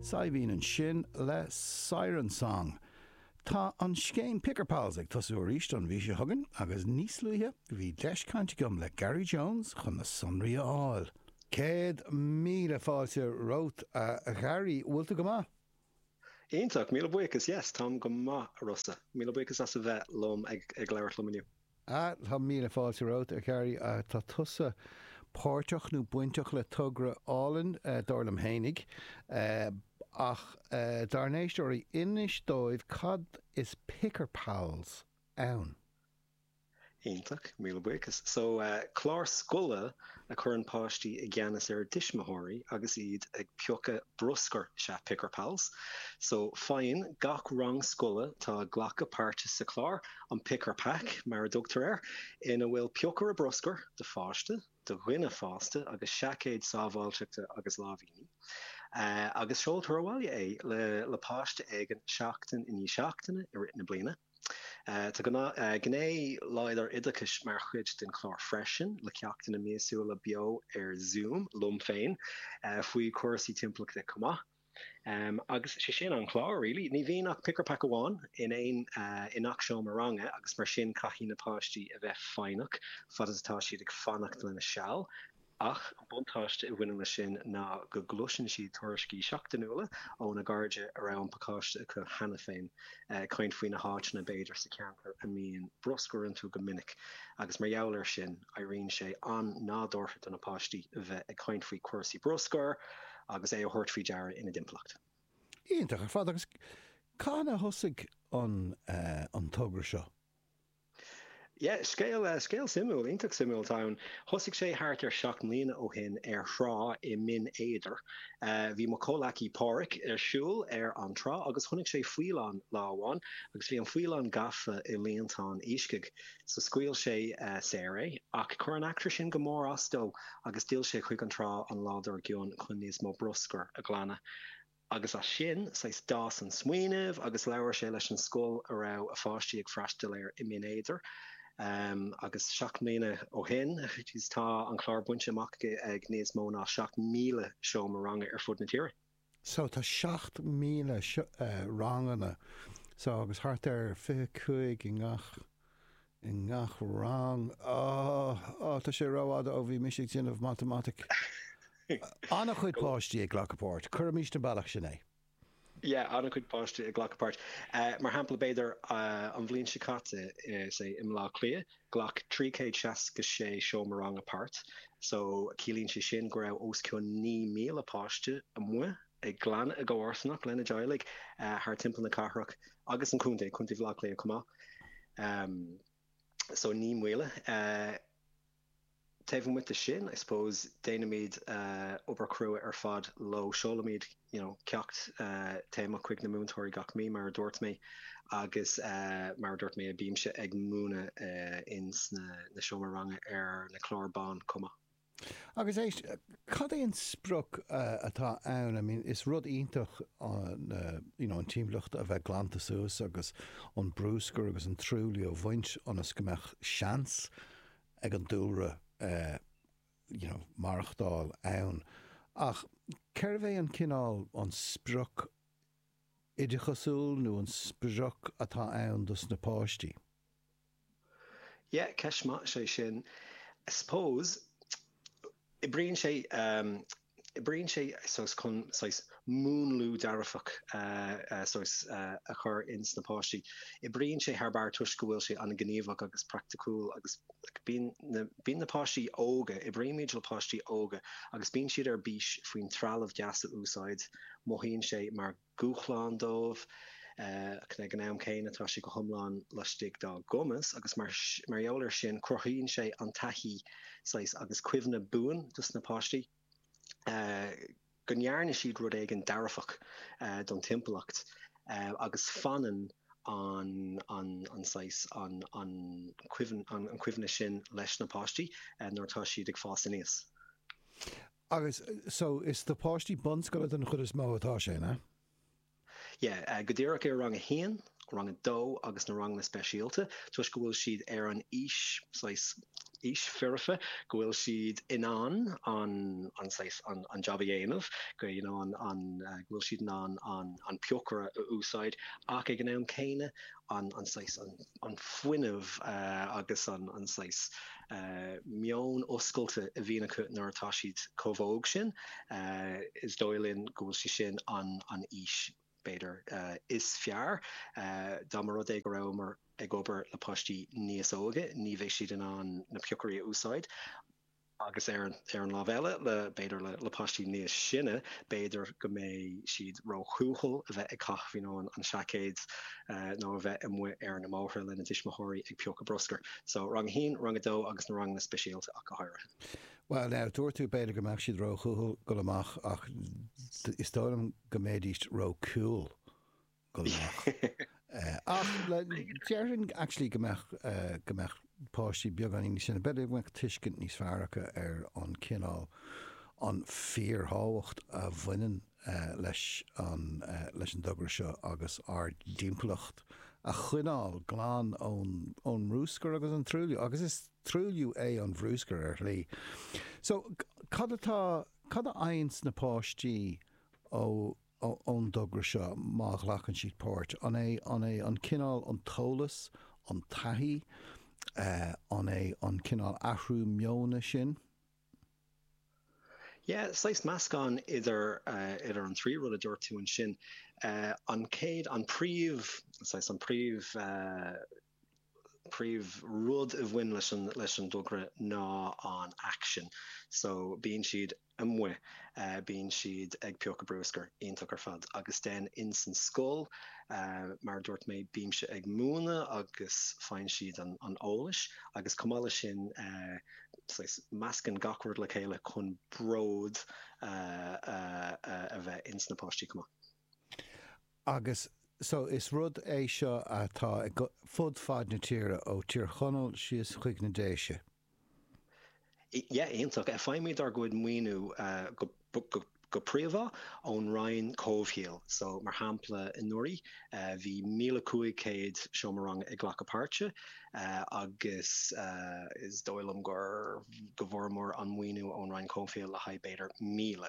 Saidhbhín ansin le Siren Song. Tá an scéim Picker Pals ag tosú arís an mhí seo chugainn agus níos luaithe bhí deis caint agam le Gary Jones chun na sonraí a fháil. 100,000 fáilte romhat a Ghary, bhfuil tú go maith? Iontach, míle buíochas, yes, táim go maith a Rossa. Míle buíochas as a bheith liom ag ag labhairt liom inniu. Ah, tá míle fáilte romhat, a Ghary. Tá tusa páirteach nó bainteach le togra álainn, dar liom fhéinig. Ach dár n-éisteoirí, inis dóibh cad is Picker Pals ann. Iontach, míle buíochas. So, clár scoile a chuireann páistí i gceannas ar a dtuismitheoirí agus iad ag piocadh bruscair is ea Picker Pals. So, faigheann gach rang scoile atá ag glacadh páirte sa chlár an Picker Pack, mar a dtugtar air, ina bhfuil piocaire bruscair do pháiste, do dhuine fásta agus seaicéad sábháilteachta agus láimhíní. Agus seoltar abhaile é le páiste éigin seachtain i ndiaidh seachtaine i rith na bliana. Tá gné láidir oideachais mar chuid den chlár freisin, le ceachtanna míosúla beo ar Zoom liom féin faoi chúrsaí timpeallachta chomh maith. Agus sé sin an clár really. Ní bhíonn ach Picker Pack amháin in aon i ngach seomra ranga agus mar sin caithfidh na páistí a bheith foighneach fad is atá siad ag fanacht lena seal. Ach an buntáiste a bhaineann leis sin ná go gcloiseann siad tuairiscí seachtainiúla óna gcairde a raibh an pacáiste acu cheana féin, ag caint faoi na háiteanna b'fhéidir sa cheantar a mbíonn bruscar iontu go minic agus mar gheall air sin éiríonn sé an-nádúrtha do na páistí a bheith ag caint faoi chúrsaí bruscair agus é a thabhairt faoi deara ina dtimpeallacht. Iontach ar fad. Agus cathain a thosaigh an togra seo? Yeah, scéal, scéal suimiúil, iontach suimiúil atá ann. Thosaigh sé thart ar 7 mbliana ó shin ar thrá i mBinn Éadair. Bhí mo chomhleacaí Páraic ar siúl ar an trá agus chonaic sé faoileán lá amháin agus bhí an faoileán gafa i líontán iascaigh. So scaoil sé saor é ach chuir an eachtra sin go mór as dó agus d'fhill sé chuig an trá an lá dár gcionn chun níos mó bruscair a ghlanadh. Agus as sin, saghas, d'fhás an smaoineamh agus labhair sé leis an scoil a raibh a pháistí ag freastal air i mBinn Éadair. Agus 7 mbliana ó shin, jeez, tá an clár bainte amach ag níos mó ná 7,000 seomra ranga ar fud na tíre. So tá 7,000 ranganna, so agus thart ar 25 i ngach, i ngach rang. Oh, oh, tá sé rófhada ó bhí mise ag déanamh matamaitic. An-chuid páistí ag glacadh páirt, cuirimis an bealach sin é. Yeah, an-chuid páistí ag glacadh páirt. Mar shampla, b'fhéidir, an bhliain seo caite, say, i mBleá Cliath, ghlac 366 seomra ranga páirt. So, ciallaíonn sé sin go raibh os cionn 9,000 páiste amuigh ag glanadh a gcomharsanacht lena dteaghlaigh thar timpeall na cathrach agus an chontae, Contae Bhaile Átha Cliath chomh maith. So 9,000. Taobh amuigh de sin, I suppose, déanaimid obair chrua ar fad leo. Seolaimid, you know, ceacht téamach chuig na múinteoirí gach mí, mar a dúirt mé, agus mar a dúirt mé, bímse ag múineadh in sna na seomra ranga ar na cláir bán chomh maith. Agus éist, cad é an sprioc atá ann? I mean, is rud iontach an, you know, an timpeallacht a bheith glanta suas agus an brúscar agus an truailliú a bhaint ionas go mbeadh seans ag an dúlra, you know, maireachtáil ann. Ach cérbh é an cineál, an sprioc oideachasúil nó an sprioc atá ann dos na páistí? Yeah, ceist maith is ea sin. I suppose, oibríonn sé, oibríonn sé saghas chun saghas múnlú dearfach saghas a chur ins na páistí. Oibríonn sé thar barr toisc go bhfuil sé an-ghníomhach agus praiticiúil agus bíonn na, bíonn na páistí óga, oibrímid le páistí óga agus bíonn siad ar bís faoin trealamh deas a úsáid, mothaíonn sé mar dhúshlán dóibh. Ach ag an am céanna tá sé go hiomlán laistigh dá gcumas agus mar gheall air sin cruthaíonn sé an taithí saghas agus cuimhne buan dos na páistí go ndearna siad rud éigin dearfach don timpeallacht agus fanann an an saghas an an an cuimhne sin leis na páistí nuair atá siad ag fás aníos. Agus, so, is do pháistí bunscoile den chuid is mó atá sé, an ea? Yeah, go díreach ar rang a haon, rang a dó agus na ranganna speisialta, toisc go bhfuil siad ar an aois, saghas. aois foirfe, go bhfuil siad in ann an an saghas an an job a dhéanamh, go you know an an go bhfuil siad in ann an an piocaire a úsáid ach ag an am céanna an an saghas an an fuinneamh agus an an saghas meon oscailte a bhíonn acu nuair atá siad chomh hóg sin, is dóigh linn go bhfuil sé sin an an aois, b'fhéidir, is fearr. Dá mba rud é go rabhamar ag obair le páistí níos óige, ní bheidh siad in ann na piocairí a úsáid. Agus ar an lámh eile, le, b'fhéidir, le páistí níos sine, b'fhéidir go mbeidh siad róthuathail a bheith ag caitheamh you know an seaicéid nó a bheith amuigh ar na mbóithre lena dtuismitheoirí ag piocadh bruscair. So, rang a haon, rang a dó agus na ranganna speisialta ach go háirithe. Bhuel now, dúirt tú b'fhéidir go mbeadh siad róthuathail dul amach ach is dóigh liom go mbeidís ró-cool dul amach. Ach déarfainn actually go mbeadh, go mbeadh páistí beagáinín níos sine, b'fhéidir go mbeadh tuiscint níos fearr acu ar an cineál, an fíorthábhacht a bhaineann leis an, leis an dtogra seo agus ár dtimpeallacht a choinneáil glan ón, ón mbrúscar agus an truailliú. Agus is truailliú é an bhrúscar ar shlí. So, cad atá, cad a fhaigheanns na páistí ó, ón dtogra seo má ghlacann siad páirt? An é an é an cineál an t-eolas, an taithí, an é an cineál athrú meona sin? Yeah, saghas meascán idir idir an trí rud a dúirt tú ansin. An chéad, an príomh, saghas an príomh, príomh rud a bhain leis an leis an dtogra ná an action. So bíonn siad amuigh, bíonn siad ag piocadh brúscair, iontach ar fad. Agus then in san scoil, mar a dúirt mé, bímse ag múineadh agus faigheann siad an an eolais agus chomh maith leis sin saghas meascann gach rud le chéile chun bród a bheith ins na páistí chomh maith. Agus so is rud é seo atá fud fad na tíre, ó Tír Chonaill síos chuig na Déise. Yeah, iontach. Faighimid ár gcuid maoiniú go príomha ón Roinn Comhshaoil. So, mar shampla, anuraidh bhí 1,500 seomra ranga ag glacadh páirte agus is dóigh liom gur go bhfuaireamar an maoiniú ón Roinn Comhshaoil le haghaidh b'fhéidir 1,000.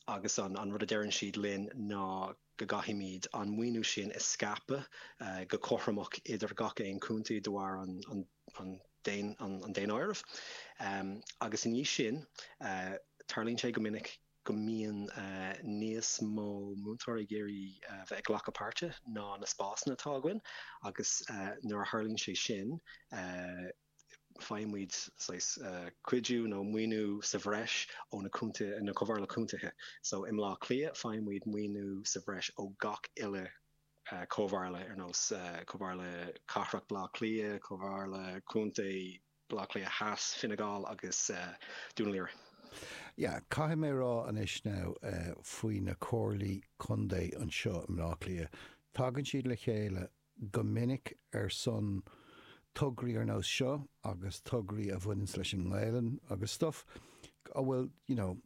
Agus an rud a deireann siad linn ná go gcaithfimid an maoiniú sin a scaipeadh go cothromach idir gach aon chontae de bharr an daonáirimh. Agus i ndiaidh sin, tarlaíonn sé go minic go mbíonn níos mó múinteoirí ag iarraidh bheith ag glacadh páirte ná na spásanna atá againn agus nuair a tharlaíonn sé sin, faighimid saghas cuidiú nó maoiniú sa bhreis ó na contaetha, na comhairle contaetha. So i mBleá Cliath faighimid maoiniú sa bhreis ó gach uile comhairle ar nós Comhairle Cathrach Bleá Cliath, Comhairle Contae Bleá Cliath Theas, Fine Gall agus Dún Laoghaire. Yeah, caithfidh mé a rá anois now faoi na comhairlí contae anseo i mBleá Cliath, tagann siad le chéile go minic ar son tograí ar nós seo agus tograí a bhaineanns leis an nGaelainn agus stuff a bhfuil, you know,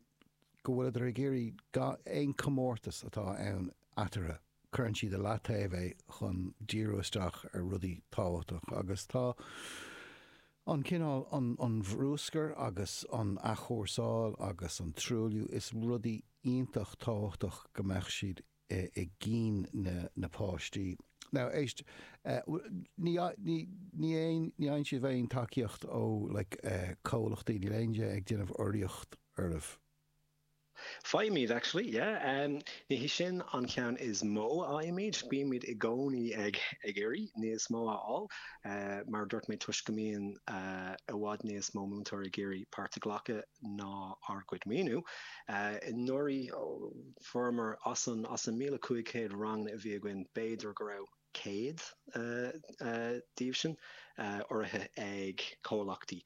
go bhfuileadar ag iarraidh aon comórtas atá ann eatarthu, cuireann siad i leataobh é chun díriú isteach ar rudaí tábhachtach agus tá an cineál, an, an bhrúscar agus an athchúrsáil agus an truailliú, is rudaí iontach tábhachtach go mbeadh siad i gcinn na páistí. Now, éist, ní, ní, ní aon, ní fhaigheann sibh aon tacaíocht ó, like, comhlachtaí, níl éinne ag déanamh urraíocht oraibh. Faighimid, actually, yeah. Ní hé sin an ceann is mó a fhaighimid, bímid i gcónaí ag, ag iarraidh níos mó a fháil, mar a dúirt mé, toisc go mbíonn i bhfad níos mó múinteoirí ag iarraidh páirt a ghlacadh ná ár gcuid maoiniú. Anuraidh, Fuaireamar as an as an 1,500 ranganna a bhí againn, b'fhéidir go raibh 100 díobh sin urraithe ag comhlachtaí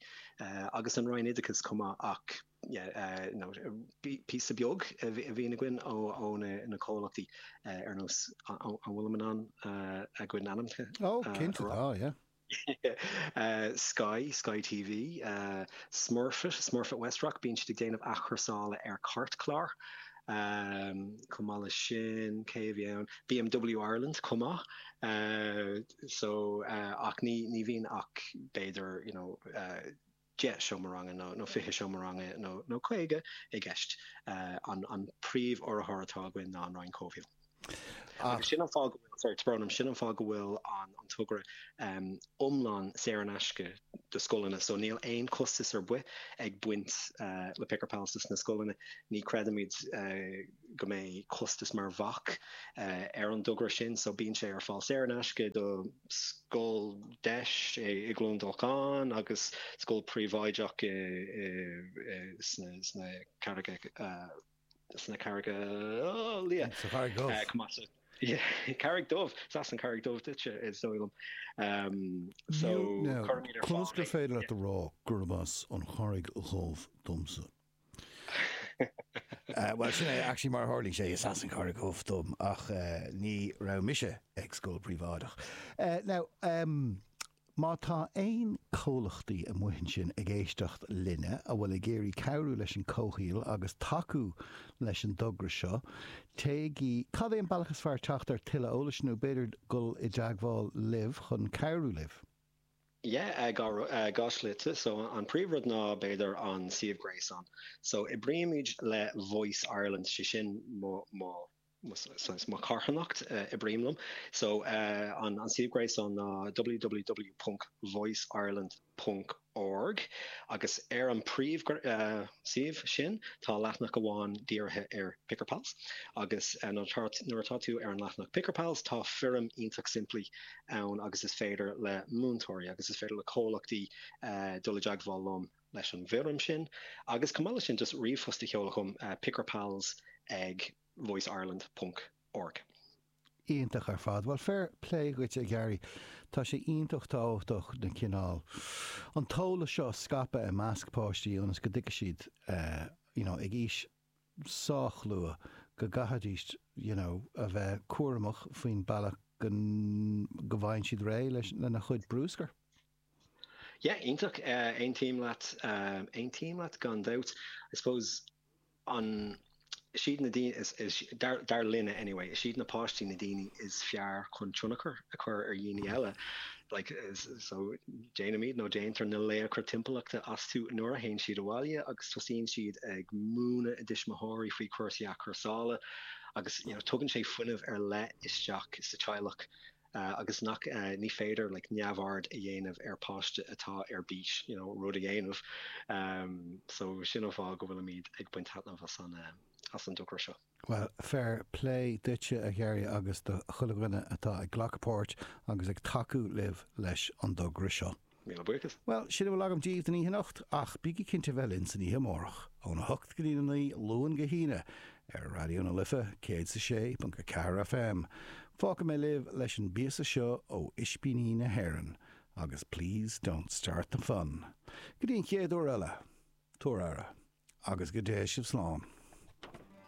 agus an Roinn Oideachais chomh maith ach yeah you know píosa beag a bhíonn againn ó ó na comhlachtaí ar nós an bhfuilim in ann a gcuid n-ainmneacha a rá? Ó cinnte tá, yeah. Sky, Sky TV, Smurfit, Smurfit Westrock, bíonn siad ag déanamh athchúrsála ar cairtchláir. Chomh maith leis sin, cé a bhí ann? BMW Ireland chomh maith. So, ach ní, ní bhíonn ach b'fhéidir, you know, 10 seomra ranga nó 20 seomra ranga nó 50 i gceist. An príomh-urraitheoir atá againn ná an Roinn Comhshaoil. Agus sin an fáth go bhfuil, sorry, tá brón orm, sin an fáth go bhfuil an togra iomlán saor in aisce do scoileanna. So níl aon chostas ar bith ag baint le Picker Pals dos na scoileanna. Ní chreidimid go mbeidh costas mar bhac ar an dtogra sin so bíonn sé ar fáil saor in aisce do scoil deis i gCluain Dolcáin agus scoil príobháideach sna Carraigeacha sna Carraigeacha Liath. Sa Charraig Dhubh. Carraig Dubh, is as an Charraig Dubh duitse is dóigh liom. So cuirimid ar fáil. Conas gur féidir leat a rá gurb as an Charraig Dhubh domsa? Bhuel, sin é, actually, mar a tharlaíonn sé, is as an Charraig Dhubh dom, ach ní raibh mise ag scoil príobháideach. Now, má tá aon comhlachtaí amuigh ansin ag éisteacht linne a bhfuil ag iarraidh cabhrú leis an comhshaol agus tacú leis an dtogra seo, téigí, cad é an bealach is fearr teacht ar tuilleadh eolais nó b'fhéidir dul i dteagmháil libh chun cabhrú libh? Yeah, dhá shlite. So an príomhrud ná b'fhéidir an suíomh gréasáin. So oibrímid le Voice Ireland, sé sin mo, mo, saghas mo charthanacht, oibrím liom. So an suíomh gréasáin ná www ponc voiceireland ponc org agus ar an príomh suíomh sin tá leathanach amháin dírithe ar Picker Pals agus nuair atá tú ar an leathanach Picker Pals tá foirm iontach simplí ann agus is féidir le múinteoirí agus is féidir le comhlachtaí dul i dteagmháil liom leis an bhfoirm sin agus chomh maith leis sin just ríomhphost a sheoladh chugam pickerpals ag voiceireland ponc org. Iontach ar fad. Bhuel, fair play dhuit, a Ghearaí. Tá sé iontach tábhachtach na cineál, an t-eolas seo a scaipeadh i measc páistí ionas go dtuigfidh siad, you know, ag aois sách luath go gcaithfidís you know a bheith cúramach faoin bealach go go bhfaigheann siad réidh leis lena chuid brúscair. Yeah, iontach. Aontaím leat, aontaím leat gan dabht. I suppose an, is iad na daoine, is, is, dar, dar linne anyway, is iad na páistí na daoine is fearr chun tionchar a chur ar dhaoine eile. Like, so, déanaimid nó déantar na laochra timpeallachta astu nuair a théann siad abhaile agus tosaíonn siad ag múineadh a dtuismitheoirí faoi chúrsaí athchúrsála agus, you know, tugann sé fuinneamh ar leith isteach sa teaghlach agus nach, ní féidir, like, neamhaird a dhéanamh ar páiste atá ar bís, you know, rud a dhéanamh. So, sin an fáth go bhfuilimid ag baint taitneamh as an, as an dtogra seo. Bhuel, fair play duitse, a Ghearaí, agus do chuile dhuine atá ag glacadh páirt agus ag tacú libh leis an dtogra seo. Míle buíochas. Bhuel, sin a bhfuil agam daoibh don oíche anocht, ach bígí cinnte bheith linn san oíche amárach, óna hocht go dtí a naoi, Luan go hAoine, ar Raidió na Life 106.4 FM. Fágfaidh mé libh leis an bpíosa seo ó Ispíní na hÉireann, agus Please Don't Start the Fun. Go dtí an chéad uair eile, tabhair aire, agus go dté sibh slán.